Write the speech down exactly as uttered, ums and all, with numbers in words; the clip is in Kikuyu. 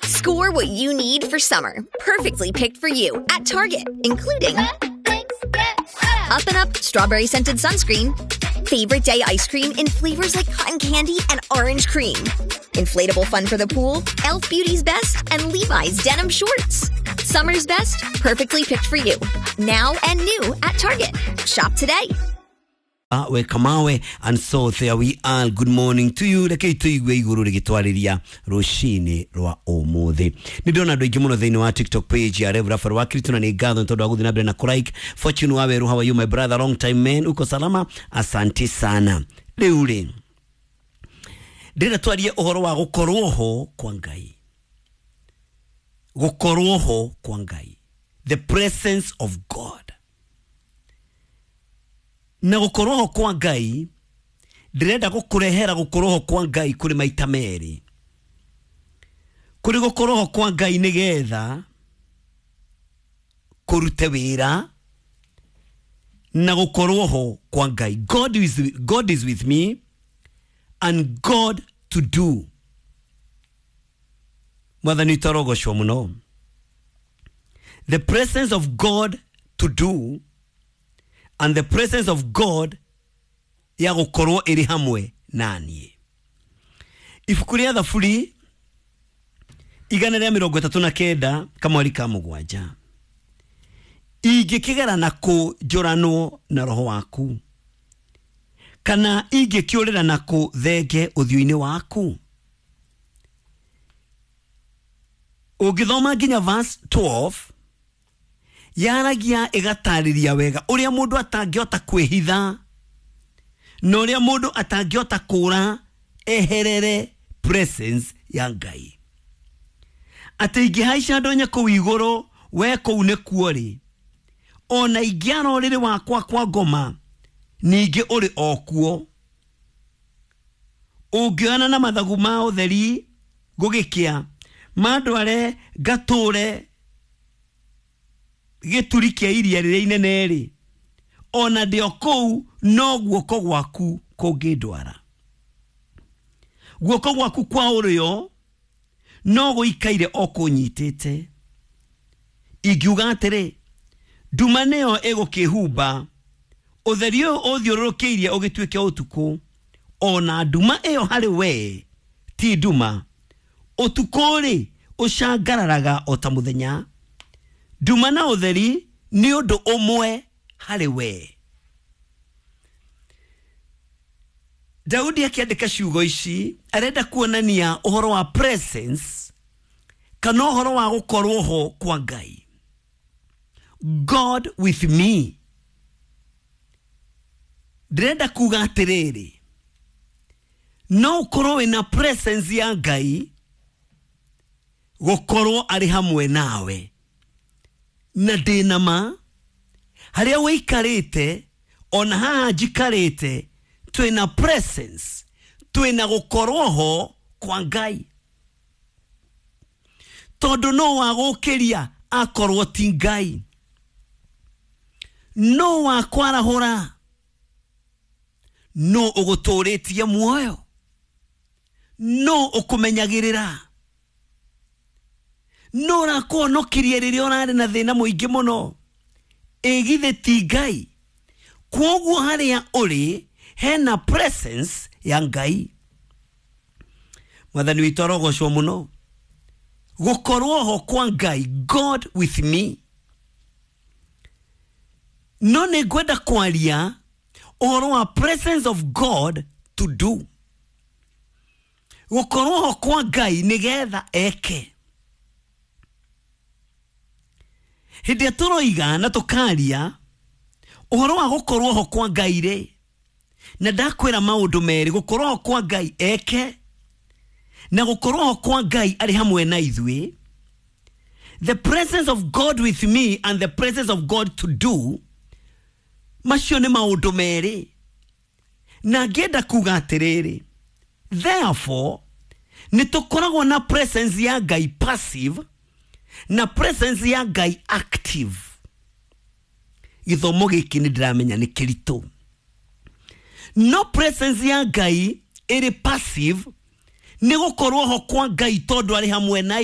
Score what you need for summer. Perfectly picked for you at Target, including Up and Up strawberry scented sunscreen, favorite day ice cream in flavors like cotton candy and orange cream, inflatable fun for the pool, Elf Beauty's best, and Levi's denim shorts. Summer's best, perfectly picked for you. Now and new at Target. Shop today. We kamawe, and so there we are. Good morning to you. Reke tuigue iguru rigitwariria rucini rwa umuthi. Ni ndona andu aingi muno thiini wa TikTok page ya Rev Rafael wa Kristo, na ni ngatho tondu wa guthii na mbere na kulike. Fortune Waweru, how are you my brother? Long time man, uko salama? Asante sana. Riu ri ndĩrenda twarie ũhoro wa gũkorwo ho kwa Ngai, gũkorwo ho kwa Ngai, the presence of God. Na gũkorwo ho kwa Ngai, ndĩrenda gũkũrehera gũkorwo ho kwa Ngai kũrĩ maita merĩ. Kũrĩ gũkorwo ho kwa Ngai nĩgetha kũrute wĩra, na gũkorwo ho kwa Ngai, God is, God is with me and God to do. Mwathani tarogocwo mũno. The presence of God to do and the presence of God ya gũkorwo ĩrĩ hamwe na niĩ. Ibuku rĩa Thaburi igana rĩa mĩrongo ĩtatũ na kenda kamweri ka mũgwanja, ingĩkĩgera na kũ njũranwo na roho waku, kana ingĩkĩũrĩra na kũ thenge ũthiũ-inĩ waku. Ũngĩthoma nginya verse twelve, yaragia ĩgatarĩria wega ũrĩa mũndũ atangĩhota kwĩhitha na ũrĩa mũndũ atangĩhota kũra eherere presence ya Ngai. Atĩ ingĩhaica ndonye kũu igũrũ, we kũu nĩkuo rĩ, ona ingĩara ũrĩrĩ wakwa kwa ngoma, ningĩ ũrĩ o kuo. Ũngĩoyana na mathagu ma ũtheri gũgĩkĩa, mandware ngatũre gĩturi kĩa iria rĩrĩa inene rĩ, ona ndĩ o kũu no guoko gwaku kũngĩndwara. Guoko gwaku kwa ũrĩo no gũikaire o kũnyitĩte. Ingiuga atĩrĩ, nduma nĩyo ĩgũkĩhumba, ũtheri ũyũ ũthiũrũrũkĩirie ũgĩtuĩke ũtukũ, ona nduma ĩyo harĩ we ti nduma. Ũtukũ rĩ ũcangararaga o ta mũthenya, nduma na ũtheri nĩ ũndũ ũmwe harĩ we. Daudi akĩandĩka ciugo ici arenda kuonania ũhoro wa presence kana ũhoro wa gũkorwo ho kwa Ngai. God with me. Ndĩrenda kuga atĩrĩrĩ, no ũkorwo wĩna presence ya Ngai gũkorwo arĩ hamwe nawe, na ndĩna ma harĩa wĩikarĩte ona haha njikarĩte twĩna presence, twĩna gũkorwo ho kwa Ngai. Tondũ no wagũkĩria akorwo ti Ngai, no wakwarahũra, no ũgũtũrĩtie muoyo, no ũkũmenyagĩrĩra, no ũrakuhonokirie rĩrĩa ũrarĩ na thĩna mũingĩ mũno. Ĩ githĩ ti Ngai? Kwoguo harĩa ũrĩ hena presence ya Ngai. Mwathani witũ arogocwo mũno. Gũkorwo ho kwa Ngai, God with me. No nĩ ngwenda kwaria ũhoro wa presence of God to do. Gũkorwo ho kwa Ngai nĩgetha eke. Hĩndĩ ĩrĩa tũroiga na tũkaria ũhoro wa gũkorwo ho kwa Ngai rĩ, na ndakwĩra maũndũ merĩ, gũkorwo ho kwa Ngai eke na gũkorwo ho kwa Ngai arĩ hamwe na ithuĩ. The presence of God with me and the presence of God to do, macio nĩ maũndũ merĩ. Na ngĩenda kuga atĩrĩrĩ, therefore nĩ tũkoragwo na presence ya Ngai passive na presence ya Ngai active. Gĩthomo gĩkĩ nĩ ndĩramenya nĩ kĩritũ. No presence ya Ngai ĩrĩ passive nĩ gũkorwo ho kwa Ngai tondũ arĩ hamwe na